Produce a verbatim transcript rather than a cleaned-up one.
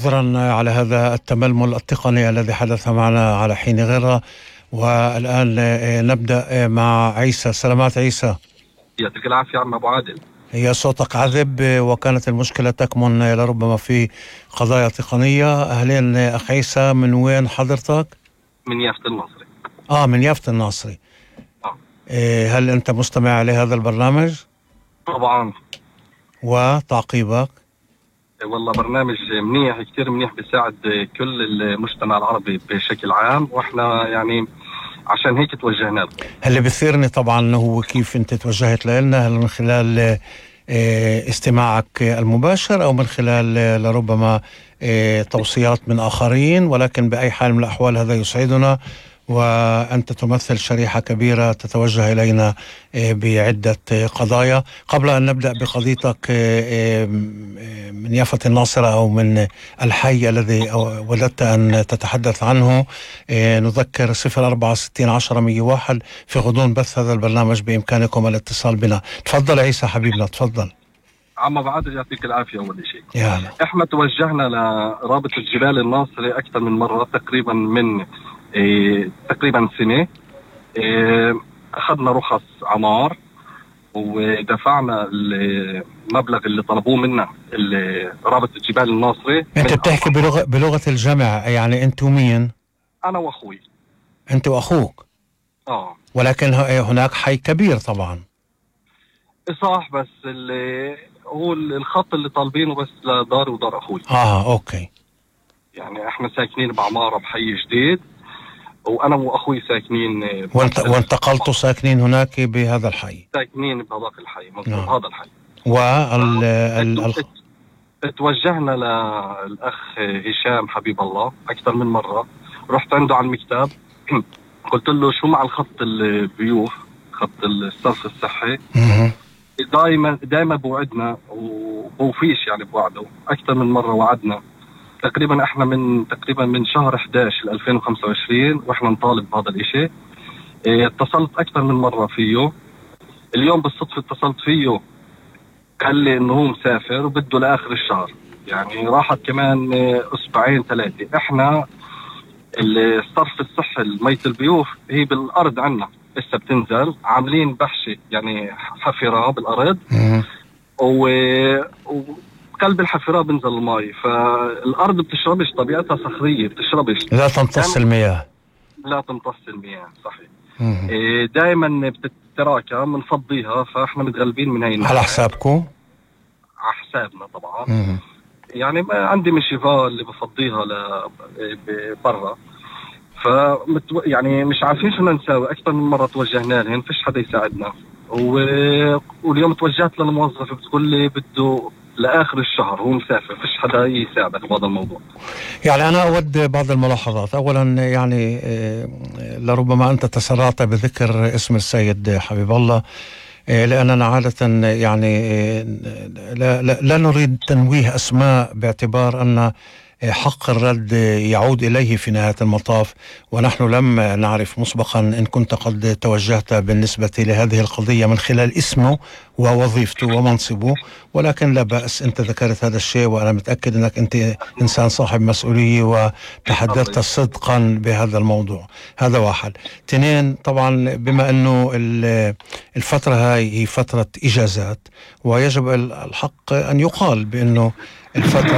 عذرا على هذا التململ التقني الذي حدث معنا على حين غرة. والآن نبدأ مع عيسى. سلامات عيسى. يعطيك العافية عم أبو عادل. هي صوتك عذب وكانت المشكلة تكمن لربما في قضايا تقنية. أهلين أخ عيسى، من وين حضرتك؟ من يافت الناصري. آه من يافت الناصري. آه. إيه، هل أنت مستمع لهذا البرنامج؟ طبعا. وتعقيبك؟ والله برنامج منيح، كتير منيح، بيساعد كل المجتمع العربي بشكل عام، واحنا يعني عشان هيك توجهنا له. اللي بيثيرني طبعا هو كيف انت توجهت لنا، هل من خلال استماعك المباشر او من خلال لربما توصيات من اخرين، ولكن باي حال من الاحوال هذا يسعدنا، وأنت تمثل شريحة كبيرة تتوجه إلينا بعدة قضايا. قبل أن نبدأ بقضيتك من يافة الناصرة أو من الحي الذي وددت أن تتحدث عنه، نذكر صفر أربعة ستين عشرة مية واحد في غضون بث هذا البرنامج بإمكانكم الاتصال بنا. تفضل عيسى حبيبنا، تفضل. عم أبو عادل يعطيك العافية. أول شيء يا إحنا توجهنا لرابطة جبال الناصري أكثر من مرة، تقريبا من إيه تقريبا سنة. إيه أخذنا رخص عمار ودفعنا المبلغ اللي طلبوه منا رابطة جبال الناصري. أنت بتحكي بلغة, بلغة الجمع، يعني أنتوا مين؟ أنا وأخوي. أنت وأخوك؟ آه. ولكن هناك حي كبير طبعا. صح، بس اللي هو الخط اللي طالبينه بس لدار ودار أخوي. آه أوكي. يعني إحنا ساكنين بعمارة بحي جديد، وأنا وأخوي ساكنين. وانت وانتقلتوا ساكنين هناك بهذا الحي؟ ساكنين بهذاك الحي، مظبوط. نعم. هذا الحي. وال ال... ال... توجهنا للأخ هشام حبيب الله أكثر من مرة، رحت عنده على المكتب قلت له شو مع الخط البيوف، خط الصرف الصحي. دائما دائما بوعدنا وبوفيش، يعني بوعده أكثر من مرة وعدنا. تقريبا احنا من تقريبا من شهر إحدى عشر ألفين وخمسة وعشرين واحنا نطالب بهذا الاشي. اه اتصلت اكثر من مرة فيه. اليوم بالصدفة اتصلت فيه، قال لي انه هو مسافر وبده لاخر الشهر، يعني راحت كمان اه اسبوعين ثلاثة. احنا الصرف الصحي المية البيوف هي بالارض عنا لسه بتنزل، عاملين بحشة يعني حفرة بالارض و... و... قلب الحفرة بنزل الماء، فالأرض بتشربش، طبيعتها صخرية بتشربش، لا تمتص المياه. لا تمتص المياه، صحيح. إيه دائما بتتراكم، بنفضيها، فاحنا متغلبين من هاي على حسابكم؟ على حسابنا طبعا. مم. يعني عندي مشيفال اللي بفضيها لبرا، فمتو... يعني مش عارفين شو نسوي. أكثر من مرة توجهنا لهن، فيش حدا يساعدنا. و... واليوم توجهت للموظف بتقول لي بده لآخر الشهر، هو مسافر، فيش حدا يساعدك بهذا الموضوع. يعني أنا أود بعض الملاحظات. أولا يعني لربما أنت تسرعت بذكر اسم السيد حبيب الله، لأننا عادة يعني لا, لا, لا نريد تنويه أسماء باعتبار أن حق الرد يعود إليه في نهاية المطاف، ونحن لم نعرف مسبقا إن كنت قد توجهت بالنسبة لهذه القضية من خلال اسمه ووظيفته ومنصبه، ولكن لا بأس، أنت ذكرت هذا الشيء وأنا متأكد أنك أنت إنسان صاحب مسؤولية وتحدثت صدقا بهذا الموضوع. هذا واحد. اثنين، طبعا بما أنه الفترة هاي هي فترة إجازات، ويجب الحق أن يقال بأنه الفترة